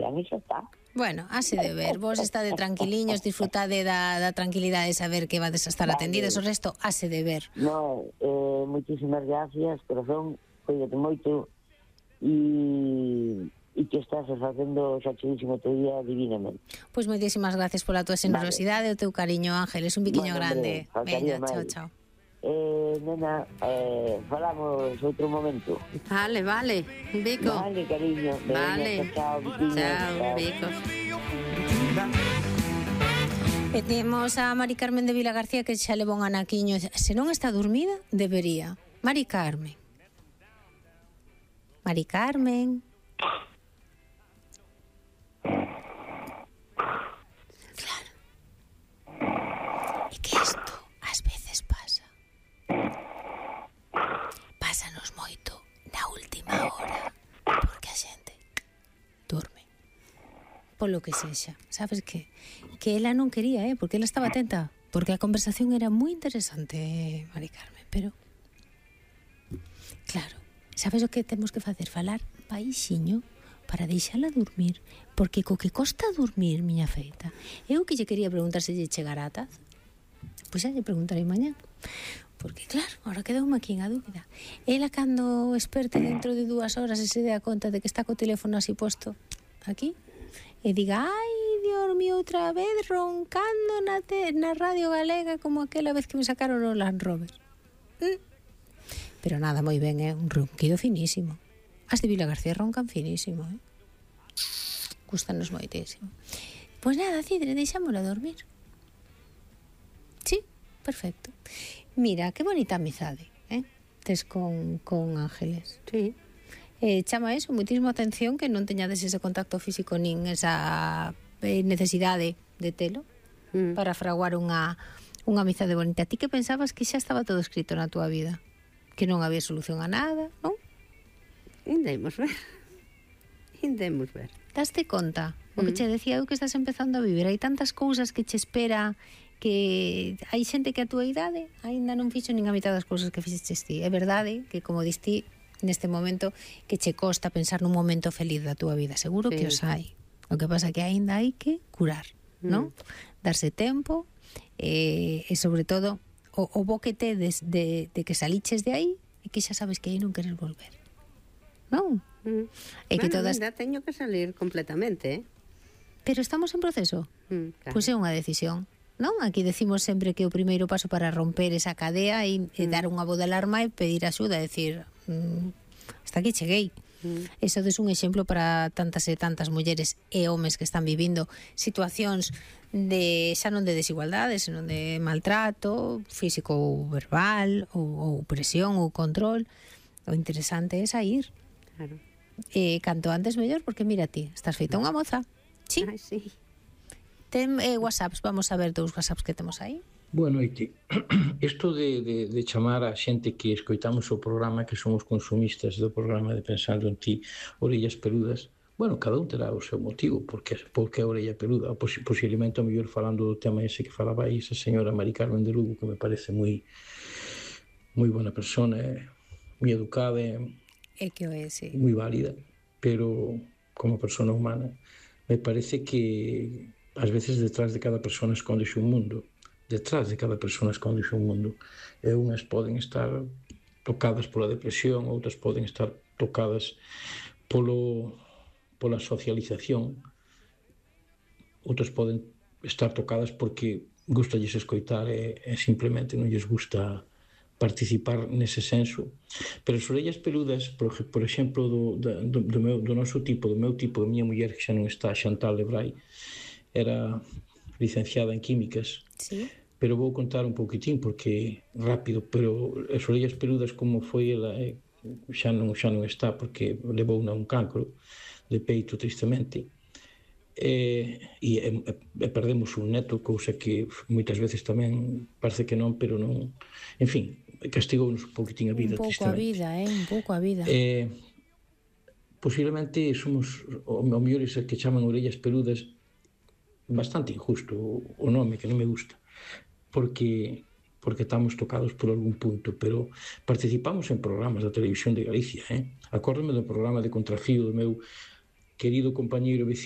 vean e xa está. Bueno, hase de ver. Vos estade tranquiliños, disfrutade da tranquilidade de saber que vades a estar atendidas, o resto hase de ver. No, moitísimas gracias, corazón, cuídate moito e que estás facendo xa chulísimo teu día divinamente. Pois moitísimas gracias pola tua xenerosidade e o teu cariño, Ángeles, un biquiño grande. Veña, chao, chao. Nena, falamos outro momento. Vale, un bico. Vale, cariño. Vale. Chao, Bicos. E temos a Mari Carmen de Vila García que xa levou un anaquiño. Se non está dormida, debería. Mari Carmen. Mari Carmen. Claro. E que isto ás veces pasa. Pásanos moito na última hora, porque a xente dorme. Polo que sexa. Sabes que ela non quería, porque ela estaba atenta, porque a conversación era moi interesante, Mari Carmen, pero claro, sabes o que temos que facer? Falar baixiño para deixala dormir, porque co que costa dormir, miña feita. Eu que lle quería preguntar se lle chegará a taza. Pois xa lle preguntarei mañá. Porque claro, ahora quedoume aquí a dúbida. Ela cando esperte dentro de 2 horas e se dea conta de que está co teléfono así posto aquí e diga, ai, Dios mío, outra vez roncando na radio galega como aquela vez que me sacaron o Land Rover. Pero nada, moi ben, un ronquido finísimo. As de Vila García roncan finísimo, Gústanos moitísimo. Pois nada, Cidre, deixámola dormir. Sí, perfecto. Mira, que bonita amizade, tes con Ángeles. Sí. Chama eso moitísimo atención que non teñades ese contacto físico nin esa necesidade de telo para fraguar unha amizade bonita. Ti que pensabas que xa estaba todo escrito na túa vida? Que non había solución a nada, non? Indemos ver. Daste conta? O que che decía eu que estás empezando a vivir. Hai tantas cousas que che espera, que hai xente que a túa idade aínda non fixo nin a mitad das cousas que fixeches ti. É verdade que, como diste neste momento, que che costa pensar nun momento feliz da túa vida. Seguro que os hai. O que pasa que aínda hai que curar, non? Darse tempo e sobre todo o bo que tedes de que saliches de aí e que xa sabes que aí non queres volver. Non? E que todas... Ainda teño que salir completamente, Pero estamos en proceso. Claro. Pois é unha decisión, non? Aquí decimos sempre que o primeiro paso para romper esa cadea é dar unha voz de alarma e pedir axuda, decir, hasta aquí cheguei. Eso é un exemplo para tantas e tantas mulleres e homes que están vivindo situacións de xa non de desigualdade, senón de maltrato físico ou verbal ou presión ou control. O interesante é sair. Claro. Canto antes mellor, porque mira ti, estás feita unha moza. Sí. Ai, sí. Ten WhatsApps, vamos a ver dous WhatsApps que temos aí. Boa noite. Isto de chamar a xente que escoitamos o programa, que somos consumistas do programa de Pensando en Ti, orellas peludas, bueno, cada un terá o seu motivo, porque a orella peluda, posiblemente o mellor falando do tema ese que falaba aí esa señora Mari Carmen de Lugo, que me parece moi boa persona, moi educada, que o é, sí. Moi válida, pero como persona humana me parece que ás veces detrás de cada persona escóndese un mundo. Detrás de cada persona escóndese un mundo. E unhas poden estar tocadas pola depresión, outras poden estar tocadas pola socialización, outras poden estar tocadas porque gustalles escoitar e simplemente non lles gusta participar nese senso. Pero as orellas peludas, por exemplo, do noso tipo, do meu tipo, da miña muller, que xa non está, Chantal Lebrai, era licenciada en químicas. Sí. Pero vou contar un pouquitín, porque rápido, pero as orellas peludas, como foi ela, xa non está, porque levou a un cancro de peito, tristemente, e perdemos un neto, cousa que moitas veces tamén parece que non, pero non, en fin, castigounos un pouquitín a vida, tristemente. Un pouco a vida. Posiblemente somos o mellor esa que chaman orellas peludas, bastante injusto o nome, que non me gusta, porque estamos tocados por algún punto, pero participamos en programas da Televisión de Galicia, Acórdome do programa de Contrafío do meu querido compañeiro veciño